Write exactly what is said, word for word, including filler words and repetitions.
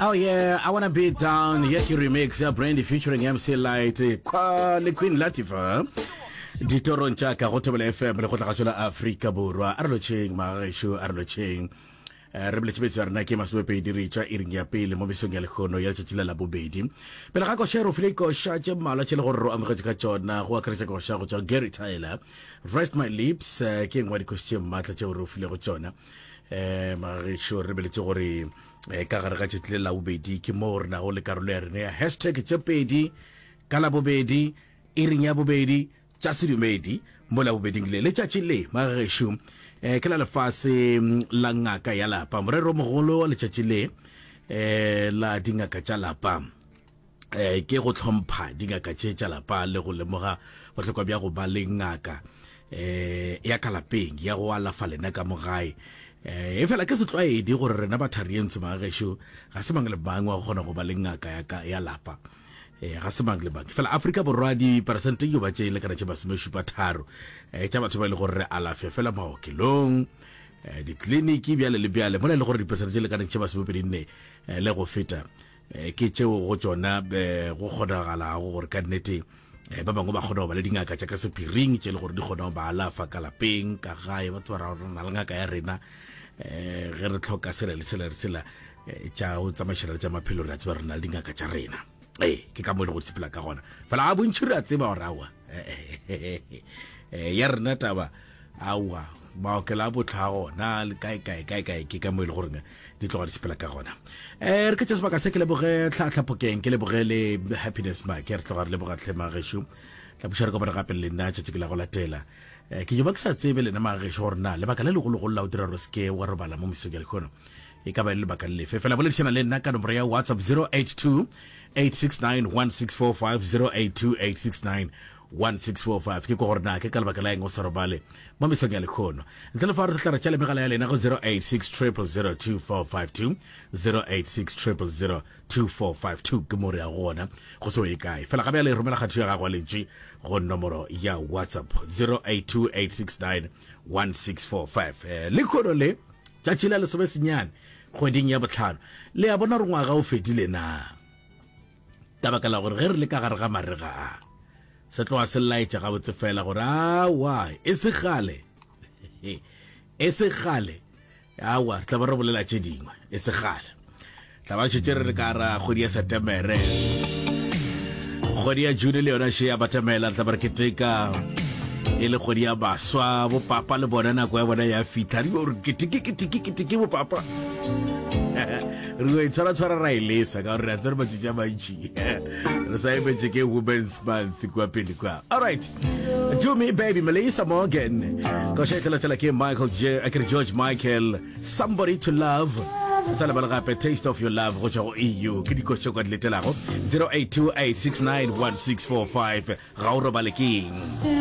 Oh yeah, I wanna be down. Ye ke remix ya Brandy featuring MC Light kwa le Queen Latifah. Ditorong tša ka go Thobela FM le go tlagatšo la Afrika Borwa. A re lotšheng magešo, a re lotšheng. Eh, re boletše betso ya rena ke masomepedi re tšwa iring ya pele mo mesong ya lekgono ya letšatši la labobedi pele ga koša re file koša tše mmalwa tše le gore re amogetše ka tšona go akaretša koša go tšwa gary tyler rest my lips eh, ke engwe ya dikoši tše maatla tšeo re o filego tšona um magešo re beletše gore eh, ka gare ga tšatši le labobedi ke moo re nago le karolo ya rena ya hashtag tše pedi ka labobedi iring ya bobedi tša sedumedi mo labobeding le letšatši le magešo eh, ke la lefase mm, la ngaka ya lapa morero mogolo wa letšatši le eh, la dingaka tša lapa eh, ke go hlompha dingaka tše tša lapa le go lemoga bohlokwa bja go ba le ngaka eh, ya ka lapeng ya go alafa lena ka mo gae eh, e fela ke setlwaedi gore rena batharientsho magešo ga se mang le mang wa go kgona go ba le ngaka ya, ka, ya lapa eh, ga se mang le mang fela afrika borwa diperesente yo ba tše lekana tše masomešupa tharo eh, tša batho ba e le gore re alafe fela maokelong eh, ditleliniki bjale le bjale mola e le gore diperesente tše lekaneng tše masomepedi nne eh, le go feta eh, ke tšeo go tšona eh, go kgonagalago gore ka nnete eh, ba bangwe ba kgona go ba le dingaka tša ka sephiring tše e le gore di kgona go ba alafa ka lapeng ka gae batho ba ra gore re na le ngaka ya rena eh ge re tlhoka sela le sela le sela eh, tša go tsamaišana le tša maphelo re a tseba re na le dingaka tša rena ee ke ka mo e le go sepela ka gona fela a bontšhi re a tseba gore aowa eh, ya rena taba aowa maokelo a botlha gona le kae kae kae kae ke ka mo e le goreng di tloga di sepela ka gona um re ke tša sebaka se ke leboge tlhatlhapokeng ke leboge le happiness make re tloga re leboga tlhe magešo tla buša re kopana gape le nna tšatši ke la go latela um ke joba ke sa tsebe lena magešo gore na lebaka le legologolo la go dira gore se ke wa robala mo mesong ya lekgono e ka ba e le lebaka le lefe fela boledišana le nna ka nomoro ya whatsapp zero eight two eight six nine one six four five zero eight two eight six nine one six four five ke ko gore na ke ka lebaka la eng o sa robale mo mesong ya lekgono ntle le fa re tla re tšale megala ya lena go zero eight six triple zero two four five two zero eight six triple zero two four five two ke mo re ya gona go se ye kae fela gabe ya le romela kgatho ya gago ya lentši go nomoro ya whatsapp zero eight two eight six nine one six four five eh, lekgono le tšatši la lesome senyane kgweding ya botlhano le a bona gore ngwaga o fedile na ka baka la gore ge re le ka gare ga marega a se tloga se laetša gabotse fela gore awa e se gale e se gale awa re tla ba re bolela tše dingwe e se gale tla ba šetše re re ka ra kgwedi ya setemere kgwedi ya june le yona še ya batamela re tla ba re keteka e le kgwedi ya baswa bopapa le bona nako ya bona ya fitlha re gore keteke keteke keteke bopapa re go itshwara-tshwara ra e lesa ka gore re a tsere matšatši a mantši re sa emetše ke women's month kua pele kwa alright do me baby melissa morgan koša e tlelatela ke michael J, akere george michael somebody to love sa lebale gape taste of your love go tšwa go eu ke dikoša kwa di letelago zero eight two eight six nine one six four five ga o robale ke eng